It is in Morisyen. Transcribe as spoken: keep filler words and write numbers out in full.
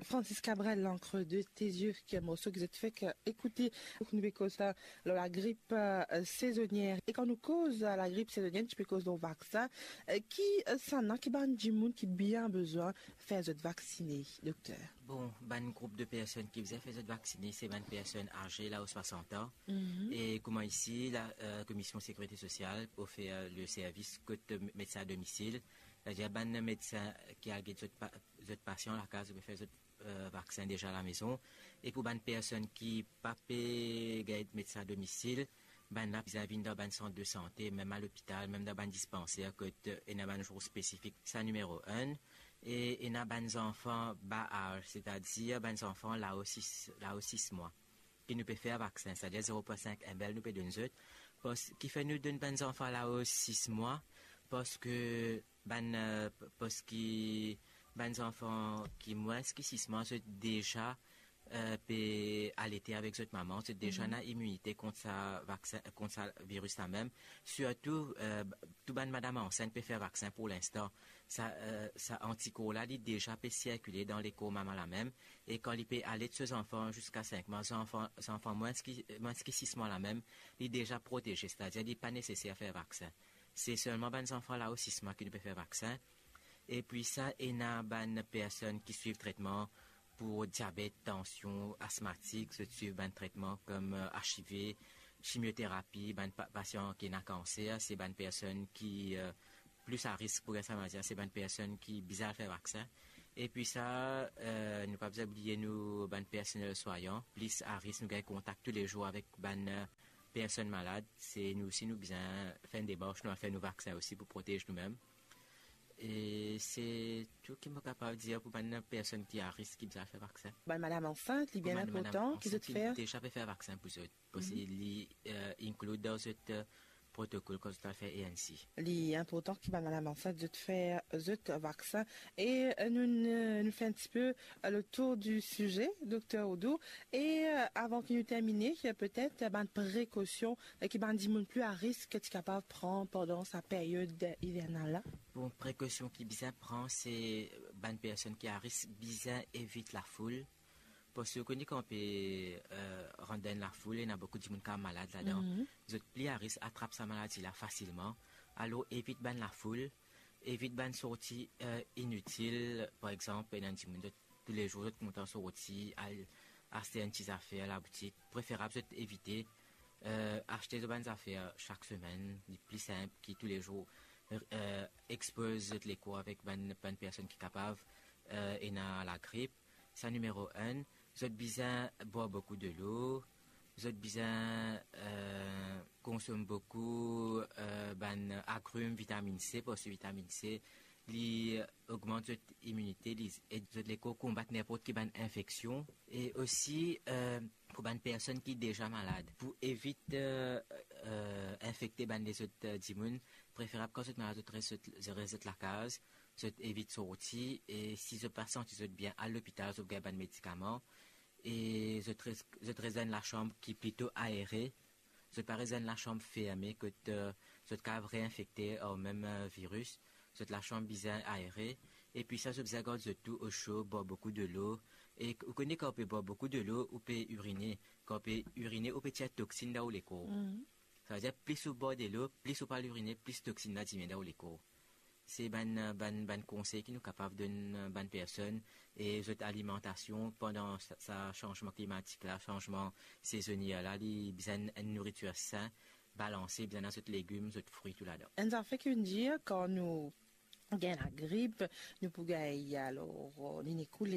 Francis Cabrel, L'encre de tes yeux, ki morso ki zot fek ekoute. Nou pe koz lor lagrip, euh, sezonier. E kan nou koz, euh, lagrip sezonier, nou pe koz lor vaksin. Euh, ki, euh, sannla, ki bann dimoun ki bien bizin fer zot vaksine, dokter? Bon, bann group de personn ki bizin fer zot vaksine, se bann personn aze, lao swasant an. Mhm. E kouma isi, la, euh, Komision Sekirite Sosial ofer, euh, le servis kot, euh, medsin a domisil. Setadir bann medsin ki al get zot pa-, zot pasian lakaz, ou pe fer zot, euh, vaksin deza lamezon. E pou bann personn ki pa pe gagn medsin a domisil, bannla bizin vinn dan bann sant de sante, mem a lopital, mem dan bann dispanser, kot, euh, ena bann zour spesifik. Sa nimero enn. E ena bann zanfan ba az, setadir bann zanfan lao sis, lao sis mwa, ki nou pe fer vaksin, setadir zero pwin sink M L nou pe donn zot. Pas-, kifer nou donn bann zanfan lao sis mwa? Parski bann, euh, p-, parski bann zanfan ki mwins ki sis mwa, zot deza, euh, pe alete avek zot mama, zot deza ena iminite kont sa vaksin, kont sa viris la mem. Sirtou, euh, tou bann madam ansint pe fer vaksin pou linstan. Sa, euh, sa antikor la, li deza pe sirkile dan lekor mama la mem. E kan li pe alet so zanfan ziska sink mwa, zanfan, zanfan mwins ki, mwins ki sis mwa la mem, li deza proteze, setadir li pa neseser fer vaksin. Se selman bann zanfan lao sis mwa ki nou pe fer vaksin. Epi sa, ena bann personn ki swiv tretman pou diabet, tansion, asmatik, zot swiv bann tretman kom, euh, H I V, chimioterapi, bann pa-, pasian ki ena kanser, se bann personn ki, euh, plis a risk pou gagn sa maladi la, se bann personn ki bizin al fer vaksin. Epi sa, euh, nou pa bizin bliye nou bann personel swayan, plis a risk, nou gagn kontak toulezour avek bann, euh, personn malad. Se nou osi, nou bizin fer enn demars, nou al fer nou vaksin osi pou protez nou mem. E se tou ki mo kapav dir pou bann personn ki a risk ki bizin al fer vaksin. Bann madam ansint, li bien inportan ki zot fer. Deza pe fer vaksin pou zot. Parski li, euh, include dan zot, euh, protokol kan zot al fer A N C. Li inportan ki bann madam ansint zot fer zot vaksin. E, euh, nou, nou, nou fer enn tipe, euh, le tour du sujet, dokter Oudou. E, euh, avan ki nou termine, euh, petet, euh, bann prekosion, euh, ki bann dimoun pli a risk ti kapav pran pandan sa period ivernal la? Bon, prekosion ki bizin pran, se bann personn ki a risk bizin evit lafoul. Parski ou kone kan ou pe, euh, rant dan enn lafoul, ena boukou dimoun ki malad ladan. Mhm. Zot pli a risk atrap sa maladi la fasilman. Alor, evit bann lafoul, evit bann sorti, euh, initil. Par exanp, ena dimoun, zot, toulezour, zot kontan sorti, al aste enn ti zafer laboutik. Preferab zot evite, euh, aste zot bann zafer sak semenn, li pli sinp ki toulezour, euh, expoz zot lekor avek bann, bann personn ki kapav, euh, ena lagrip. Sa nimero enn, zot bizin bwar boukou delo, zot bizin, euh, konsom boukou, euh, bann agrim, vitaminn C, parski vitaminn C, li ogmant zot iminite, li ed zot lekor konbat ninport ki bann infeksion. E osi, euh, pou bann personn ki deza malad, pou evit, euh, euh, infekte bann lezot, euh, dimoun, preferab kan zot malad, zot res zot, zot res zot lakaz, zot evit sorti, e si zot pa santi zot bien, al lopital, zot gagn bann medikaman, e zot res, zot res dan enn lasam ki plito aere, zot pa res dan enn lasam ferme kot, euh, zot kapav reinfekte ar mem, euh, viris. Zot lasam bizin aere, epi sa, zot bizin gard zot tou oso, bwar boukou delo. E ou kone kan ou pe bwar boukou delo, ou pe irine. Kan ou pe irine, ou pe tir toksinn dan ou lekor. Mhm. Savedir, plis ou bwar delo, plis ou pe al irine, plis toksinn la diminie dan ou lekor. Se bann, bann, bann konsey ki nou kapav donn bann personn, e zot alimantasion pandan sa, sa sanzman klimatik la, sanzman sezonier la, li bizin enn nouritir sin, balanse, bizin ena zot legim, zot fri, tou ladan. Enn zafer ki vinn dir, kan nou gagn lagrip, nou pou gagn, alor, euh, nou ekoule,